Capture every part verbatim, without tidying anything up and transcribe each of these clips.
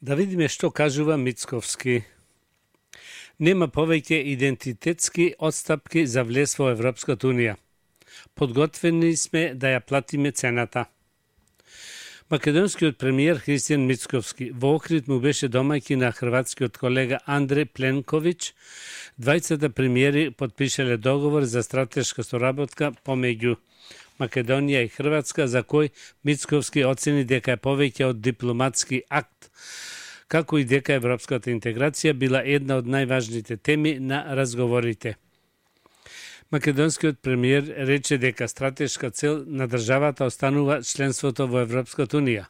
Да видиме што кажува Мицковски. Нема повеќе идентитетски отстапки за влез во Европската унија. Подготвени сме да ја платиме цената. Македонскиот премиер Христијан Мицковски во Охрид му беше домаќин на хрватскиот колега Андреј Пленковиќ. Двајцата премиери потпишале договор за стратешка соработка помеѓу Македонија и Хрватска, за кој Мицковски оцени дека е повеќе од дипломатски акт, како и дека европската интеграција била една од најважните теми на разговорите. Македонскиот премиер рече дека стратешка цел на државата останува членството во Европската унија,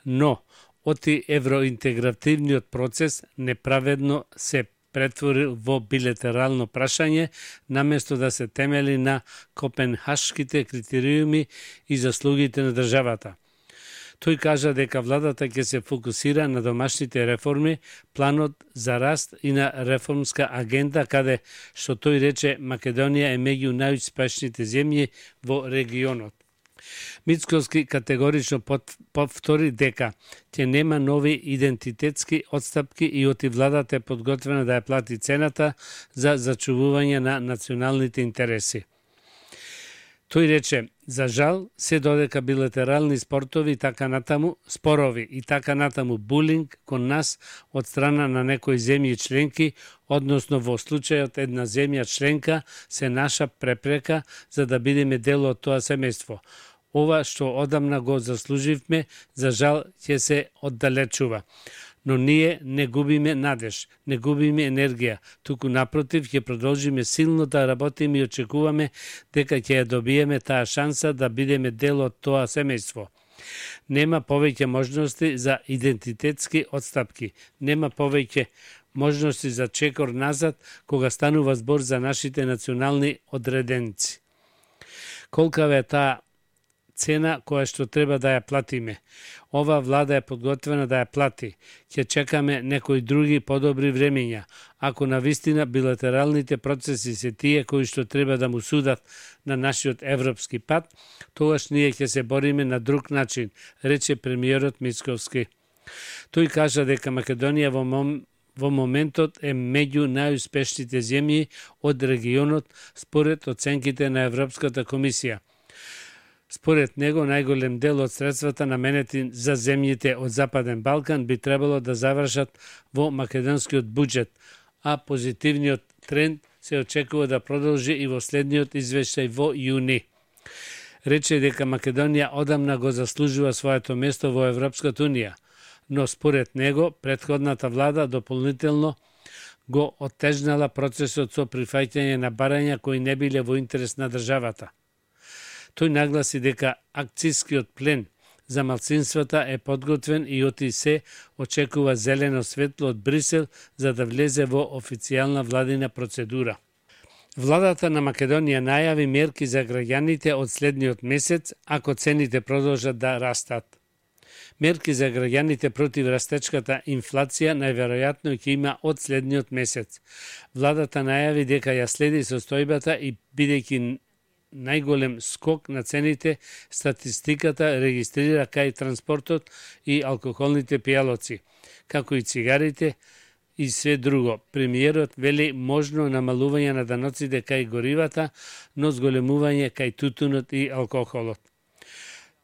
но оти евроинтегративниот процес неправедно се претвори во билатерално прашање, наместо да се темели на копенхашките критериуми и заслугите на државата. Тој кажа дека владата ќе се фокусира на домашните реформи, планот за раст и на реформска агенда, каде, што тој рече, Македонија е меѓу најуспешните земји во регионот. Мицковски категорично повтори дека ќе нема нови идентитетски отстапки и оти владата е подготвена да ја плати цената за зачувување на националните интереси. Тој рече, за жал, се додека билатерални спортови и така натаму, спорови и така натаму булинг кон нас од страна на некои земји членки, односно во случајот една земја членка, се наша препрека за да бидеме дел од тоа семејство. Ова што одамна го заслуживме, за жал ќе се оддалечува. Но ние не губиме надеж, не губиме енергија, туку напротив ќе продолжиме силно да работиме и очекуваме дека ќе ја добиеме таа шанса да бидеме дел од тоа семејство. Нема повеќе можности за идентитетски отстапки, нема повеќе можности за чекор назад кога станува збор за нашите национални одреденци. Колкава е таа цена која што треба да ја платиме. Ова влада е подготвена да ја плати. Ќе чекаме некои други подобри времења. Ако навистина билатералните процеси се тие кои што треба да му судат на нашиот европски пат, тогаш ние ќе се бориме на друг начин, рече премиерот Мицковски. Тој кажа дека Македонија во мом во моментот е меѓу најуспешните земји од регионот според оценките на Европската комисија. Според него, најголем дел од средствата наменети за земјите од Западен Балкан би требало да завршат во македонскиот буџет, а позитивниот тренд се очекува да продолжи и во следниот извештај во јуни. Рече дека Македонија одамна го заслужува своето место во Европската унија, но според него, претходната влада дополнително го оттежнала процесот со прифаќање на барања кои не биле во интерес на државата. Тој нагласи дека акцискиот плен за малцинствата е подготвен и оти се очекува зелено светло од Брисел за да влезе во официјална владина процедура. Владата на Македонија најави мерки за граѓаните од следниот месец ако цените продолжат да растат. Мерки за граѓаните против растечката инфлација најверојатно ќе има од следниот месец. Владата најави дека ја следи состојбата и бидејќи најголем скок на цените, статистиката регистрира кај транспортот и алкохолните пијалоци, како и цигарите и све друго. Премиерот вели можно намалување на даноците кај горивата, но зголемување кај тутунот и алкохолот.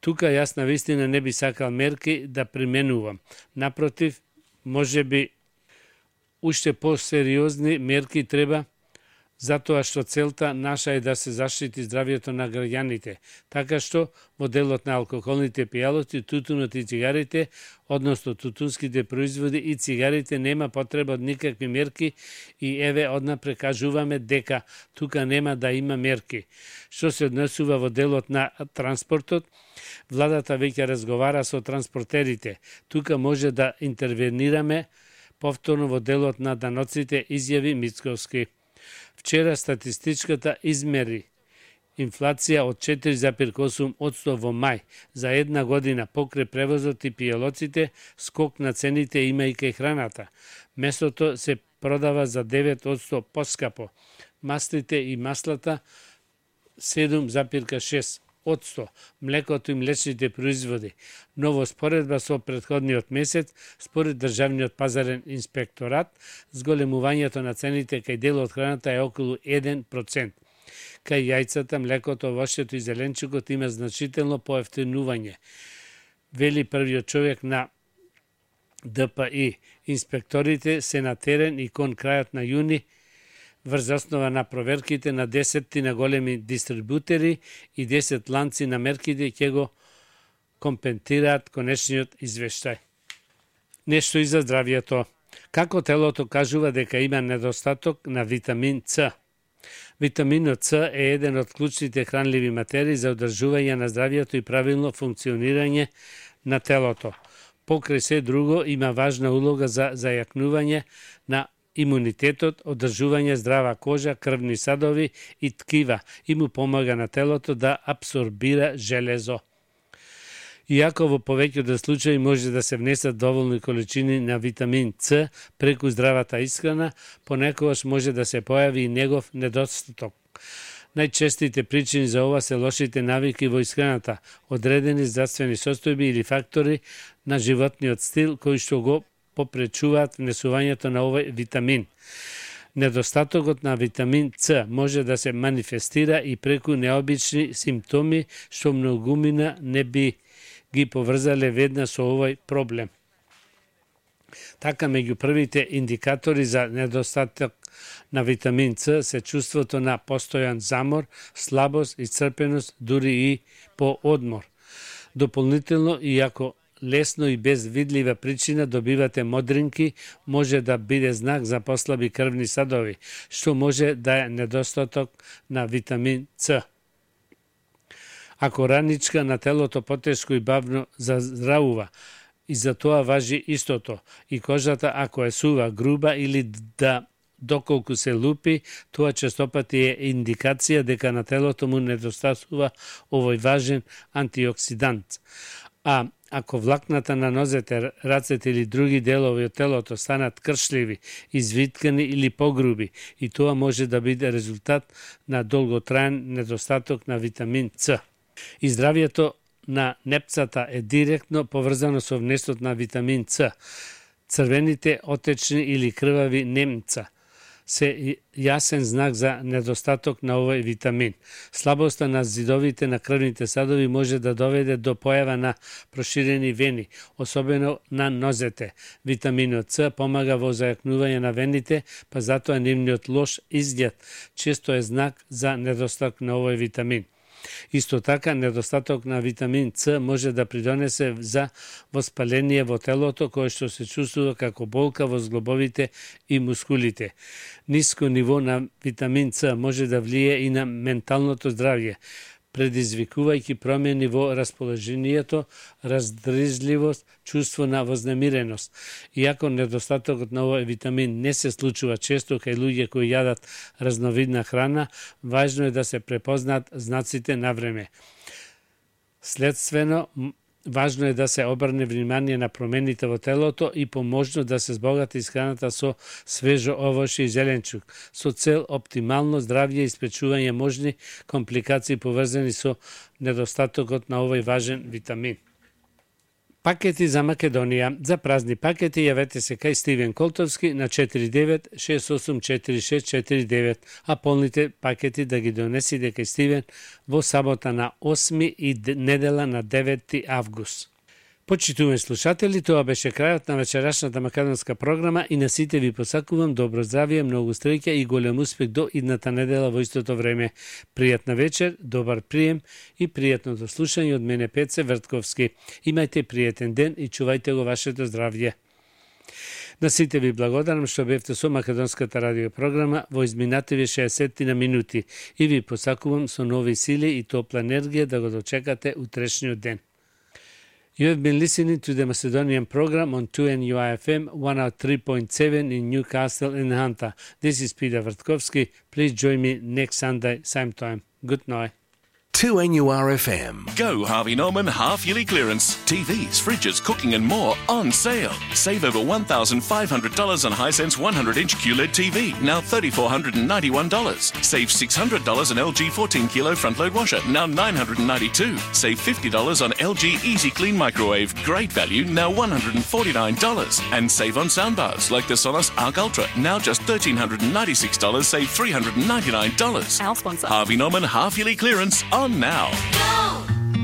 Тука јас навистина не би сакал мерки да применувам. Напротив, може би уште посериозни мерки треба, затоа што целта наша е да се заштити здравјето на граѓаните, така што во делот на алкохолните пијалоци, тутунот и цигарите, односно тутунските производи и цигарите, нема потреба од никакви мерки и еве однапред кажуваме дека тука нема да има мерки. Што се однесува во делот на транспортот, владата веќе разговара со транспортерите. Тука може да интервенираме повторно во делот на даноците, изјави Мицковски. Вчера статистичката измери инфлација од четири зарез осум одсто во мај за една година покрај превозот и пијалоците, скок на цените има и кај храната. Месото се продава за девет одсто поскапо, маслите и маслата седум зарез шест одсто, млекото и млечните производи. Но во споредба со претходниот месец, според Државниот пазарен инспекторат, зголемувањето на цените кај дел од храната е околу еден процент. Кај јајцата, млекото, овошјето и зеленчукот има значително поевтинување, вели првиот човек на Д П И. Инспекторите се на терен и кон крајот на јуни врз основа на проверките на десет на големи дистрибутери и десет ланци на мерките ќе го компентираат конечниот извештај. Нешто и за здравјето. Како телото кажува дека има недостаток на витамин Ц. Витаминот Ц е еден од клучните хранливи материи за одржување на здравјето и правилно функционирање на телото. Покрај се друго, има важна улога за зајакнување на имунитетот, одржување здрава кожа, крвни садови и ткива и му помага на телото да апсорбира железо. Иако во повеќето случаи може да се внесат доволни количини на витамин Ц преку здравата исхрана, понекогаш може да се појави и негов недостаток. Најчестите причини за ова се лошите навики во исхраната, одредени здравствени состојби или фактори на животниот стил кои што го попречуваат внесувањето на овој витамин. Недостатокот на витамин Ц може да се манифестира и преку необични симптоми што многумина не би ги поврзале веднаш со овој проблем. Така, меѓу првите индикатори за недостаток на витамин Ц се чувството на постојан замор, слабост, исцрпеност, дури и по одмор. Дополнително, иако лесно и без видлива причина добивате модринки, може да биде знак за послаби крвни садови, што може да е недостаток на витамин Ц. Ако раничка на телото потешко и бавно заздравува, и за тоа важи истото, и кожата ако е сува, груба или да доколку се лупи, тоа честопати е индикација дека на телото му недостатува овој важен антиоксидант. А ако влакната на нозете, рацете или други делови од телото станат кршливи, извиткани или погруби, и тоа може да биде резултат на долготраен недостаток на витамин Ц. И здравјето на непцата е директно поврзано со внесот на витамин Ц. Црвените, отечни или крвави немца се јасен знак за недостаток на овој витамин. Слабоста на зидовите на крвните садови може да доведе до појава на проширени вени, особено на нозете. Витаминот Ц помага во зајакнување на вените, па затоа нивниот лош изглед често е знак за недостаток на овој витамин. Исто така, недостаток на витамин Ц може да придонесе за воспаление во телото, кое што се чувствува како болка во зглобовите и мускулите. Ниско ниво на витамин Ц може да влие и на менталното здравје, предизвикувајќи промени во расположението, раздржливост, чувство на вознемиреност. Иако недостатокот на овој витамин не се случува често кај луѓе кои јадат разновидна храна, важно е да се препознаат знаците на време. Следствено, важно е да се обрне внимание на промените во телото и поможно да се збогати исхраната со свежо овошје и зеленчук, со цел оптимално здравје и спречување можни компликации поврзани со недостатокот на овој важен витамин. Пакети за Македонија. За празни пакети јавете се кај Стивен Колтовски на четири девет шест осум четири шест четири девет, а полните пакети да ги донесите кај Стивен во сабота на осми и недела на деветти август. Почитувани слушатели, тоа беше крајот на вечерашната македонска програма и на сите ви посакувам добро здравје, многу среќа и голем успех до идната недела во истото време. Пријатна вечер, добар прием и пријатно слушање од мене Пеце Вртковски. Имајте пријатен ден и чувајте го вашето здравје. На сите ви благодарам што бевте со македонската радио програма во изминативи шеесет на минути и ви посакувам со нови сили и топла енергија да го дочекате утрешниот ден. You have been listening to the Macedonian program on two N U I F M one oh three point seven in Newcastle and Hunter. This is Peter Vrtkovski. Please join me next Sunday, same time. Good night. two N U R F M. Go Harvey Norman half-yearly clearance. T Vs, fridges, cooking and more on sale. Save over one thousand five hundred dollars on Hisense one hundred inch Q L E D T V, now three thousand four hundred ninety-one dollars. Save six hundred dollars on L G fourteen kilo front-load washer, now nine hundred ninety-two dollars. Save fifty dollars on L G Easy Clean microwave, great value, now one hundred forty-nine dollars. And save on soundbars like the Sonos Arc Ultra, now just one thousand three hundred ninety-six dollars, save three hundred ninety-nine dollars. Our sponsor. Harvey Norman half-yearly clearance on now.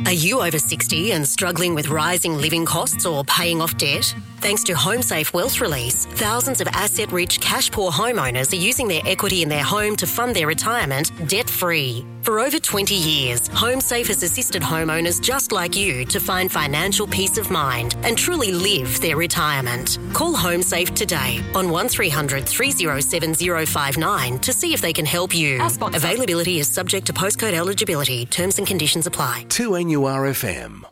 Are you over sixty and struggling with rising living costs or paying off debt? Thanks to HomeSafe Wealth Release, thousands of asset-rich, cash-poor homeowners are using their equity in their home to fund their retirement debt-free. For over twenty years, HomeSafe has assisted homeowners just like you to find financial peace of mind and truly live their retirement. Call HomeSafe today on one three hundred three oh seven oh five nine to see if they can help you. Availability is subject to postcode eligibility. Terms and conditions apply. two N U R F M.